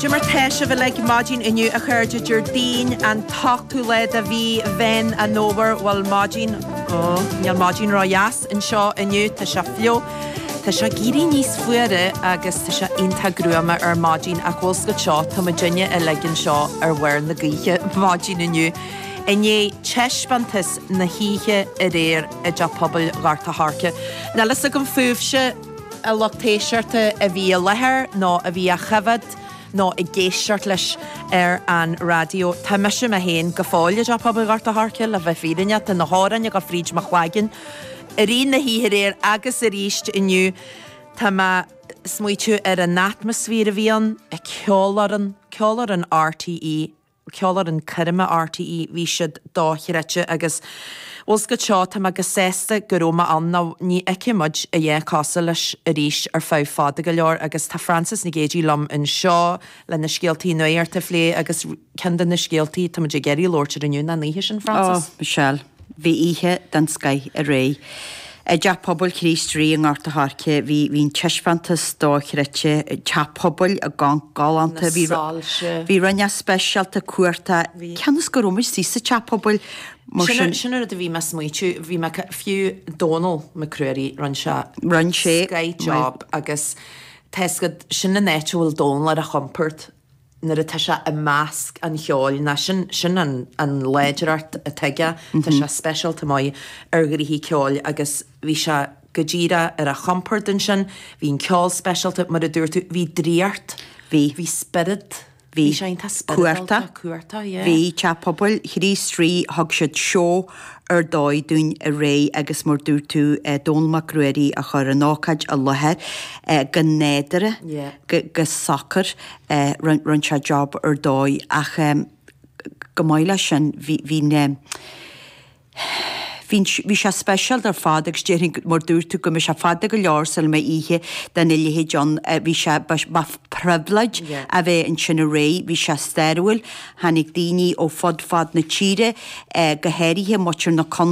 Cad é mar tá sibh uilig maidin inniu a chairde Déardaoin an t-ochtú lá de mhí Mheán an Fhómhair bhuel maidin ó níl maidin ró-dheas anseo inniu tá sé fliuch tá sé ag éirí níos fuaire agus tá sé iontach gruama ar maidin ach bhfuil 's agat seo tá muidinne uilig anseo ar bharr na gaoithe maidin inniu i ndiaidh taispeántas na hoíche aréir i dTeach Pobail Ghort a' Choirce. Níl fhios agam fúibhse a lucht éisteachta a bhí i láthair nó a bhí á choimhéad nó ag éisteacht leis ar an raidió. Tá mise mé féin go fóill i dTeach Pobail Ghort a' Choirce, le bheith fírinneach. Tá na hamhráin ag dul fríd mo chloigeann i rith na hoíche aréir agus arís inniu. Tá mé ag smaoitiú ar an atmaisféar a bhí ann, an ceolfhoireann, ceolfhoireann RTÉ, Ceolfhoireann Coirme RTÉ, bhí siad dochreidte agus bhfuil 's agat seo, tá mé go sásta go raibh mé ann nó ní fheicfidh muid a dhath cosúil leis arís ar feadh fada go leor agus tá Frances Nic Géadaigh liom anseo le na scéaltaí nuachta a phlé agus ceann de na scéaltaí tá muid ag iarraidh labhairt air inniu ná an oíche sin, Frances. Ó, Michelle, bhí oíche den scoith aréir. I dTeach Pobail Chríost Rí i nGort a' Choirce bhí bhí an taispeántas dochreidte, teach pobail i gConc galánta, Na bhí soilse. bhí rud inteacht speisialta cumhachtach, Bhí. cionn is go raibh muid istigh sa teach pobail mar Sin sin. sin an rud a bhí mé ag smaoitiú, bhí mé fiú Dónal Mac Ruairí, rinne sé Rinne sé scoth job agus tá 'fhios agat, sin an áit a bhfuil Dónal ar a chompord. nuair atá sé i measc an cheoil, ná sin, sin an, an láidreacht atá aige, tá sé speisialta maith ar ghnoithí ceoil agus bhí sé go díreach ar a chompord ansin, bhí an ceol speisialta, mar a dúirt tú, bhí draíocht, Bhí. bhí spiorad, Bhí. bhí sé iontach spioradálta, Cumhachtach. cumhachtach, yeah. Bhí, Teach Pobail Chríost Rí, thug siad seó ar dóigh dúinn aréir agus mar dúirt tú, Dónal Mac Ruairí a chuir an ócáid i láthair go nádúrtha, go socair, rinne sé job ar dóigh ach chomh maith leis sin bhí, bhí na, bhí, bhí sé speisialta ar fad agus déarfainn mar dúirt tú go mbeidh sé fada go leor sula mbeidh oíche dena leithéid ann, bhí sé, ba phribhléid a bheith ansin aréir, bhí sé stairiúil, tháinig daoine ó fud fad na tíre, go háirithe muintir na contae.